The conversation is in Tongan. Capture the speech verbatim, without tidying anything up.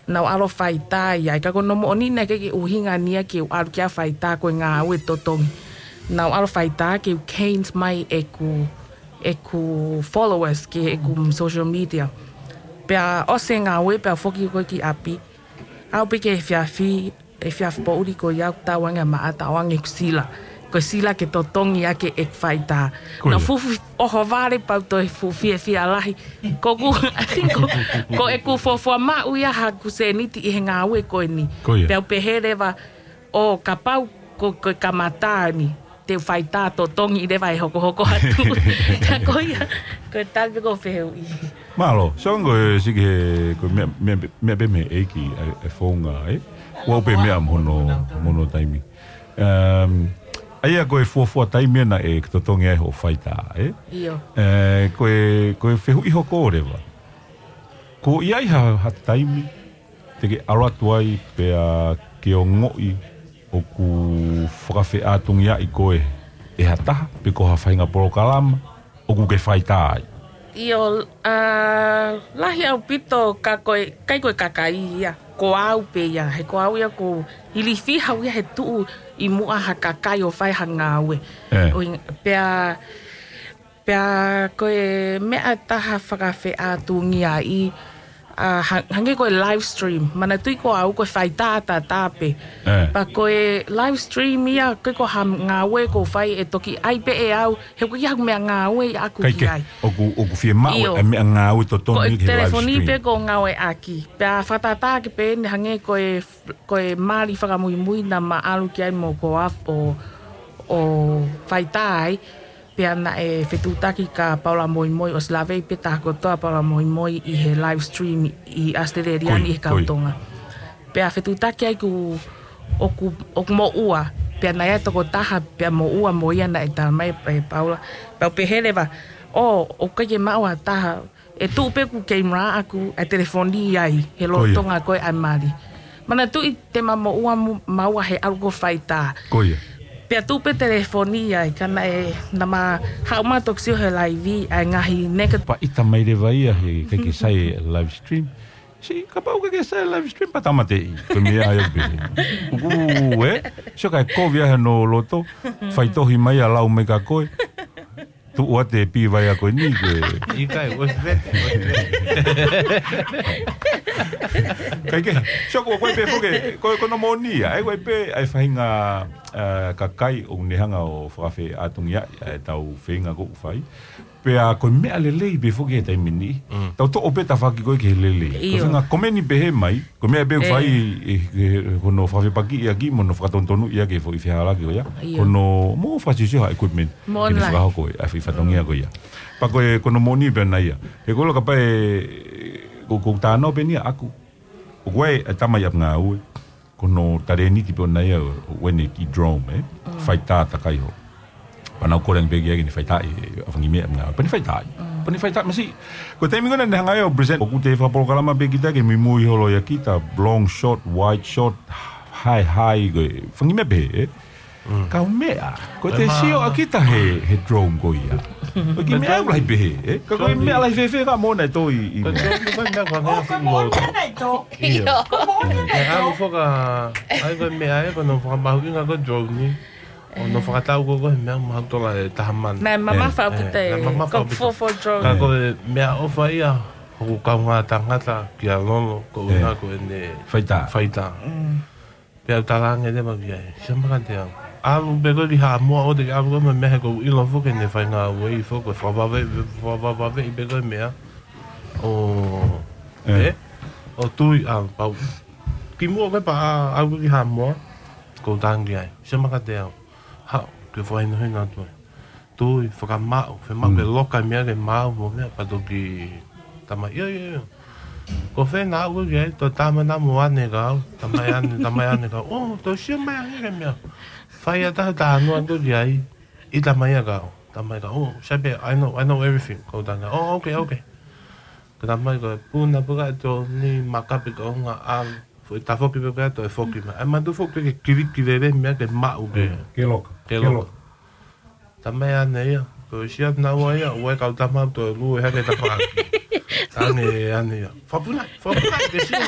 Naʻá ku ʻalu ʻo faitā ia, ka ko hono moʻoni naʻe ʻikai ke ʻuhinga ia ke u ʻalu ki ai ʻo faitā ko e ngāue totongi. Naʻá ku ʻalu ʻo faitā ke u gain mai ʻeku, ʻeku followers ki heʻeku social media. Pea ʻosi e ngāue pea u foki ko ē ki ʻapi. Aʻu pē ki he efiafi, efiafi poʻuli ko ia ʻoku tau ange ʻa Maʻata ʻo ange ʻeku sila. Ko e sila ke totongi ʻaki ʻeku faitā. Ko ia. Naʻá ku fuʻu ʻohovale pea u toe fuʻu fiefia lahi. Ko ʻeku, ko, ko ʻeku fuofua maʻu ia haʻaku sēniti ʻi he ngāue ko eni. Ko ia. Pea u pehē leva ʻo kapau ko, ko e kamata ni, te u faitā totongi leva ʻe hokohoko atu. Ka ko ia, ko e tali pē ʻeku fehuʻi. Mālō, so ko e siki he, ko e meʻa, meʻa, meʻa pē mei he ʻEiki, ʻa e, ʻa e founga, ē? Ua pē meʻa mo hono, mo hono taimi. Um, ʻa ia ko e fuofua taimi ena ʻe totongi ai hoʻo faitā, ē? ʻIo. Ē, ko e, ko e fehuʻi hoko leva. Ko ia ʻi ha, ha taimi, te ke ʻalu atu ai pea ke ongoʻi ʻoku fakafeʻātungiaʻi koe ʻe ha taha, pe ko ha faʻahinga polokalama, ʻoku ke faitā ai. ʻIo, ʻa, lahi ʻaupito ka ko e, ʻikai ko e kakai ia, ko au pē ia, he ko au ia ʻoku ilifia au ia he tuʻu ʻi muʻa ha kakai ʻo fai ha ngāue. Ē. ʻO ʻi-, pea, pea ko e meʻa ʻe taha fakafeʻātungiaʻi, ʻa, ha-, hangē ko e live stream. Manatuʻi ko au ko e faitā ʻataʻatā pē. Ē. Pea ko e live stream ia, ʻikai ko ha ngāue ʻoku ou fai ʻe toki ʻai pē ʻe au, he ʻoku ʻikai haʻaku meʻangāue ia ʻaʻaku ki ai. ʻOku, ʻoku fiemaʻu ʻa e meʻangāue totongi ki he live stream. Ko e telefoni pē ʻoku ou ngāueʻaki. Pea fakatātā ʻaki pē eni hangē ko e, ko e mali fakamuimui naʻá ma ʻalu ki ai mo Koaf ʻo, ʻo faitā ai. Pea naʻe fetuʻutaki kia Paula Moimoi, ʻosi laveʻi pē taha kotoa Paula Moimoi ʻi he live stream ʻi ʻAositelēlia ni ʻi he kau Tonga. Pea fetuʻutaki ai ʻoku, ʻoku, ʻoku moʻua. Pea naʻe ʻi ai e tokotaha, pea moʻua mo ia naʻe talamai ʻe Paula. Pea u pehē leva, ʻo, ʻoku ʻikai ke maʻu ha taha, ʻe tuʻu pē ʻeku keimala ʻaʻaku, ʻa e telefoni ai, he lolotonga ko ē ʻa e mali. Manatuʻi te ma moʻua mo-, maua he ʻalu ko ē ʻo faitā. Ko ia. Pea tuʻu pē telefoni ai, ka naʻe, naʻá ma haʻu mai ʻo toki sio he laivi, ʻa e ngaahi neka. Pea ʻita mai leva ia he ʻikai ke sai e live stream. Sī, kapau ʻoku ʻikai ke sai e live stream, pea tāmateʻi. Ko e meʻa ia pē. ʻOku, ē? Sio kae kovi ai hono loto, faitohi mai ia lau mai kia koe. Tuʻu atu e pī vai ako ni ke. ʻIkai, ʻosi vete, ʻosi vete. ʻIkai ke, sio ko koe pē foki, ko, ko hono moʻoni ia, ʻa ia ko e pē, ʻa e faʻahinga, ʻa, kakai ʻoku ne hanga ʻo fakafeʻātungiaʻi ʻa ʻetau feinga ʻoku fai. Pea ko e meʻa lelei pē foki he taimi ni. Mm. Tau toʻo pē tafaʻaki ko ē ki he lelei. ʻIo. Ko e faʻahinga komeni pehē mai, ko e meʻa pē ʻoku fai ʻe, ʻe, ʻe hono fakafepakiʻi ʻaki mo hono fakatonutonu ʻaki e foʻi fehālaaki ko ia. ʻIo. Ko hono mo fakasiosio ha equipment. Mo ke ne fakahoko ʻa e foʻi fatongia ko ia. Pea ko e, ko hono moʻoni pē ʻona ia. He ko e ʻilo kapau ʻe, ko, ko e tānaki pē ʻeni ʻaʻaku. ʻOku ʻi ai e tama ʻi ʻapi ngāue. Ko hono talēniti pē ʻona ia ʻo, ʻo ʻene kiʻi drone, ē? Faitā takai holo. Pea naʻá ku kole ange pē ki ai ke ne faitā ʻi, ʻa e fanga kiʻi meʻa ʻapi ngāue. Pea ne faitā ai. Pea ne faitā masiʻi. Ko e taimi ko ē naʻá ne hanga ai ʻo present, ʻoku te fakapolokalama pē kita ke muimui holo ia kita, long shot, wide shot, high, high, ko e fanga kiʻi meʻa pehē, ē? Kaumeʻa, ko e te sio ʻa kita he, he drone ko ia. Ko e kiʻi meʻa ʻaku lahi pehē, ē? Ka ko e meʻa lahi fēfē ka moʻoni ʻe tō ʻi, ʻi. Ko e drone ko e meʻa ko e meʻa ko e moʻoni ʻe tō. ʻIo. Ko e moʻoni ʻe tō. ʻAlu foki, ʻa ia ko e meʻa ē, ko hono fakamahuʻinga ko e drone ni. ʻO hono fakatau ko e, ko e meʻa mahuʻinga ʻe taha mano. Naʻe mamafa ʻaupito. Naʻe mamafa ʻaupito. Ko e four four drone. Ka ko e meʻaʻofa ia, ʻoku kaungā tangata kia Lolo, ko e ʻuhinga ko ʻene faitā. Faitā. Pea u talaange leva ki ai, Siamaka Teau. ʻAlu pē koe ki Haʻamoa ʻo te ke ʻalu koe mo e meʻa he ʻoku ou ʻilo foki ʻene faingāue foki, ko e fakavave-, fakavave-, fakavave pē ko e meʻa. ʻO, ē? ʻO tui ʻalu pau. Kimuʻa ko ē pea ʻalu ki Haʻamoa, ʻoku ou talaange ai. Siamaka Teau. Haʻu, ke fakahinohino atu ai. Tui, fakamaʻu, fiemaʻu ke loka e meʻa ke maʻu mo e meʻa pea toki tamai, ʻio, ʻio, ʻio. Ko fē naʻa ʻalu ki ai, toe tamai naʻa mo ʻane kau, tamai ʻane, tamai ʻane kau. ʻO, toe sio mai ange ki he meʻa. Fai ʻa e taha talanoa atu ki ai, ʻi tamai ʻa kau, tamai kau. ʻO, sai pē, I know, I know everything, ʻoku ou talaange. ʻO, okay, okay. Ko e tamai ko e puna pē ka e tō ni makape ka onga ʻalu. Foʻi tafoki pē ka toe foki mai. ʻAi matu foki ke kiliki lele meʻa ke maʻu ke. Ke loka. Ke loka. Tamai ʻane ia. Ko e sia naua ia, ʻoua ʻe kau tamau toe lue hake tafaʻaki. Ange ʻane ia. Fakapuna, fakapuna, ke sio.